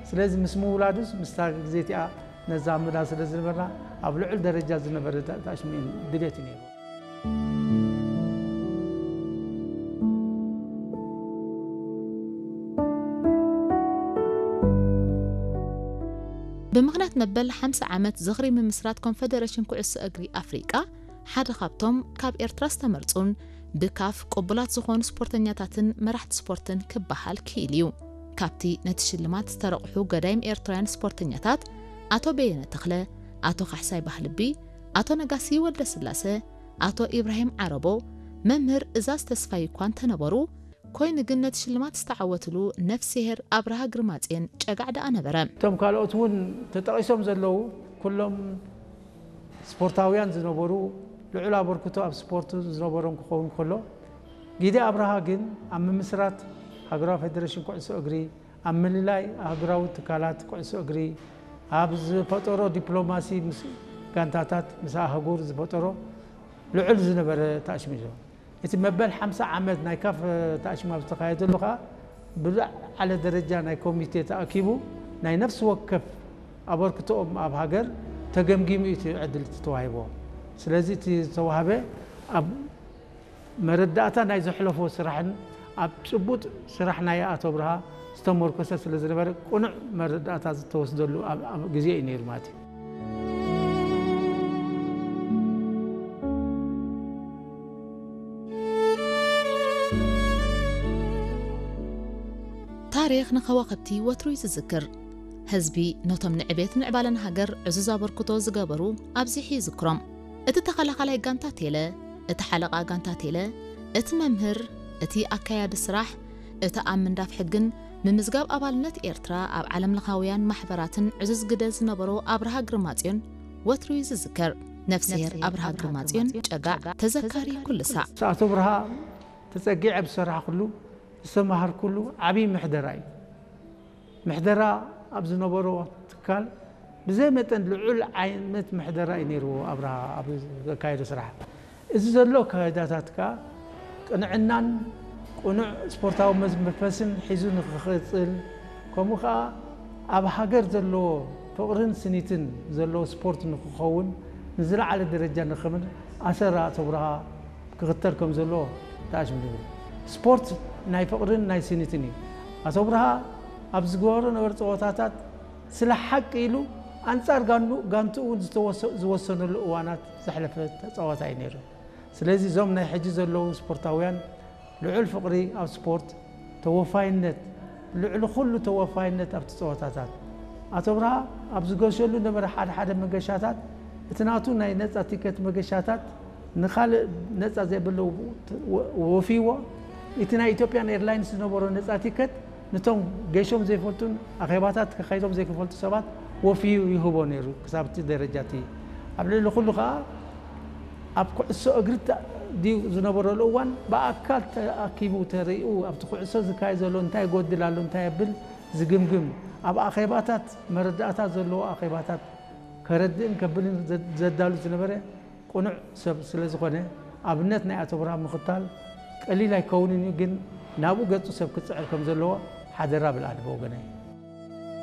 ስለዚ ምስ ምውላዱስ ምስታ ግዜ እቲኣ ነዛምዳ ስለ ዝነበርና ኣብ ልዑል ደረጃ ዝነበረ ታ- ታሽሚን ድሌት እዩ ነይሩ። ብምኽንያት መበል ሓምሳ ዓመት ዝኽሪ ምምስራት ኮንፈደሬሽን ኩዕሶ እግሪ ኣፍሪቃ ሓደ ካብቶም ካብ ኤርትራ ዝተመርጹን ብካፍ ቅቡላት ዝኾኑ ስፖርተኛታትን መራሕቲ ስፖርትን ክበሃል ክኢል እዩ። ካብቲ ነቲ ሽልማት ዝተረቑሑ ገዳይም ኤርትራውያን ስፖርተኛታት ኣቶ በየነ ተኽለ፣ ኣቶ ካሕሳይ ባህልቢ፣ ኣቶ ነጋሲ ወልደስላሰ፣ ኣቶ ኢብራሂም ዓረቦ፣ መምህር እዛዝ ተስፋይ እኳ እንተነበሩ፣ ኮይኑ ግን ነቲ ሽልማት ዝተዓወትሉ ነፍስሄር ኣብርሃ ግርማጽዮን ጨጋዕ ደኣ ነበረ። እቶም ካልኦት እውን ተጠቒሶም ዘለዉ ኩሎም ስፖርታውያን ዝነበሩ ልዑል ኣበርክቶ ኣብ ስፖርት ዝነበሮም ክኸውን ከሎ፣ ጊደ ኣብርሃ ግን ኣብ ምምስራት ሃገራዊ ፌደሬሽን ኩዕሶ እግሪ፣ ኣብ ምልላይ ኣህጉራዊ ትካላት ኩዕሶ እግሪ፣ ኣብ ዝፈጠሮ ዲፕሎማሲ ምስ ጋንታታት ምስ ኣህጉር ዝፈጠሮ ልዑል ዝነበረ ታሽሚዞ እቲ መበል ሓምሳ ዓመት ናይ ካፍ ታሽማ ዝተኻየደሉ ከዓ ብዝዓለ ደረጃ ናይ ኮሚቴ ተኣኪቡ ናይ ነፍሲ ወከፍ ኣበርክቶኦም ኣብ ሃገር ተገምጊሙ እዩ እቲ ዕድል ተዋሂቦ። ስለዚ እቲ ዝተዋህበ ኣብ መረዳእታ ናይ ዘሕለፎ ስራሕን ኣብ ጭቡጥ ስራሕ ናይ ኣቶ ብርሃ ዝተመርኮሰ ስለ ዝነበረ ቅኑዕ መረዳእታ ዝተወስደሉ ኣብ- ኣብ ግዜ እዩ ነይሩ ማለት እዩ። ታሪኽ ንኸዋኽብቲ ወትሩ እዩ ዝዝክር። ህዝቢ ነቶም ንዕቤት ምዕባለን ሃገር ዕዙዝ ኣበርክቶ ዝገበሩ ኣብዚሑ ይዝክሮም። እቲ ተኸላኻላይ ጋንታ ቴለ፣ እቲ ሓለቓ ጋንታ ቴለ፣ እቲ መምህር፣ እቲ ኣካያዲ ስራሕ፣ እቲ ኣብ ምንዳፍ ሕግን ምምዝጋብ ኣባልነት ኤርትራ ኣብ ዓለምለኻውያን ማሕበራትን ዕዙዝ ግደ ዝነበሮ ኣብርሃ ግርማጽዮን ወትሩ እዩ ዝዝከር። ነፍስሄር ኣብርሃ ግርማጽዮን ጨጋዕ ተዘካሪ ኩሉ ሳዕ። ኣቶ ብርሃ ተጸጊዐ ዝሰራሕኩሉ ዝተማሃርኩሉ ዓብዪ ምሕደራ እዩ። ምሕደራ ኣብ ዝነበሮ ትካል ብዘይ መጠን ልዑል ዓይነት ምሕደራ እዩ ነይርዎ ኣብርሃ ኣብ ዘካየዶ ስራሕ። እዚ ዘሎ ኣካይዳታት ከኣ ቅንዕናን ቅኑዕ ስፖርታዊ መዝ- መንፈስን ሒዙ ንክቕጽል፣ ከምኡ ከኣ ኣብ ሃገር ዘለዎ ፍቕርን ስኒትን ዘለዎ ስፖርት ንክኸውን ንዝለዓለ ደረጃ ንክምን ኣሰር ኣቶ ብርሃ ክኽተል ከም ዘለዎ ተኣሽምድኒ። ስፖርት ናይ ፍቕርን ናይ ስኒትን እዩ። ኣቶ ብርሃ ኣብ ዝገበሮ ነበረ ፀወታታት ስለ ሓቂ ኢሉ ኣንጻር ጋኑ- ጋንቱ እውን ዝተወሰ- ዝወሰነሉ እዋናት ዘሕለፈ ተፃዋታይ እዩ ነይሩ። ስለዚ እዞም ናይ ሕጂ ዘለዉ ስፖርታውያን ልዑል ፍቕሪ ኣብ ስፖርት፣ ተወፋይነት፣ ልዕሊ ኩሉ ተወፋይነት ኣብቲ ፀወታታት። ኣቶ ብርሃ ኣብ ዝገሸሉ ነበረ ሓደ ሓደ መገሻታት እቲ ናቱ ናይ ነፃ ቲከት መገሻታት ንኻልእ ነፃ ዘይብሉ ወ- ወፊዎ እቲ ናይ ኢትዮጵያን ኤርላይንስ ዝነበሮ ነፃ ቲከት ነቶም ገሾም ዘይፈልጡን ኣኼባታት ከካይዶም ዘይክፈልጡ ሰባት ወፊዩ ይህቦ ነይሩ። ክሳብ እቲ ደረጃ እቲ ኣብ ልዕሊ ኩሉ ከዓ ኣብ ኩዕሶ እግሪ ተ- ድዩ ዝነበረሉ እዋን ብኣካል ተኣኪቡ ተሪኡ ኣብቲ ኩዕሶ ዝካየድ ዘሎ እንታይ ይጎድል ኣሎ እንታይ የብል ዝግምግም ኣብ ኣኼባታት መረዳእታ ዘለዎ ኣኼባታት ከረድእን ከብልን ዘ- ዘዳሉ ዝነበረ ቅኑዕ ሰብ ስለ ዝኾነ ኣብነት ናይ ኣቶ ብርሃን ምኽታል ቀሊል ኣይከውንን እዩ። ግን ናብኡ ገጹ ሰብ ክጽዕር ከም ዘለዎ ሓደራ ብልኣሊ ብወገነይ።